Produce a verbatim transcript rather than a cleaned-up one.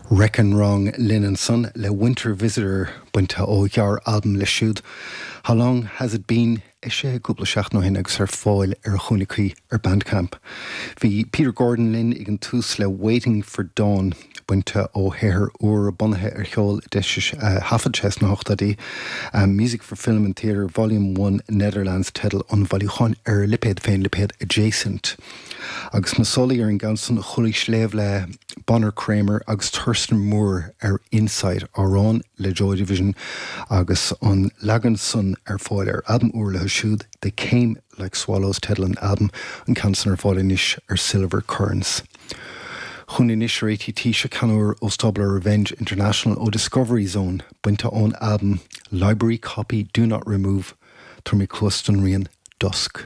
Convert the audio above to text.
Reckon Wrong linn ansan le Winter Visitor bainte ó ghearr-albam leo siúd. How long has it been sé cúpla seachtain ó shin agus ar fáil ar a chúnna cuí ar Bandcamp. Bhí Peter Gordon linn ag an tús le Waiting for Dawn bainte ó shaothar úr bunaithe ar cheol a thaifead sé sna hochtóidí. Um, Music for Film and Theatre Volume one Netherlands teideal an bhailiúcháin ar lipéad féin, lipéad Adjacent. Agus na solaí ar an gceann san chualaís léamh le Bonner Kramer agus Thurston Moore ar Inside, amhrán le Joy Division, agus an leagan san ar fáil ar albam úr leo siúd, They Came Like Swallows teideal an albam, an ceann san ar fáil anois ar Silver Currents. Chun anois réití se canúr ó stábla Revenge International, ó Discovery Zone, bainte ón albam Library Copy Do Not Remove, tar mé cluas don rian Dusk.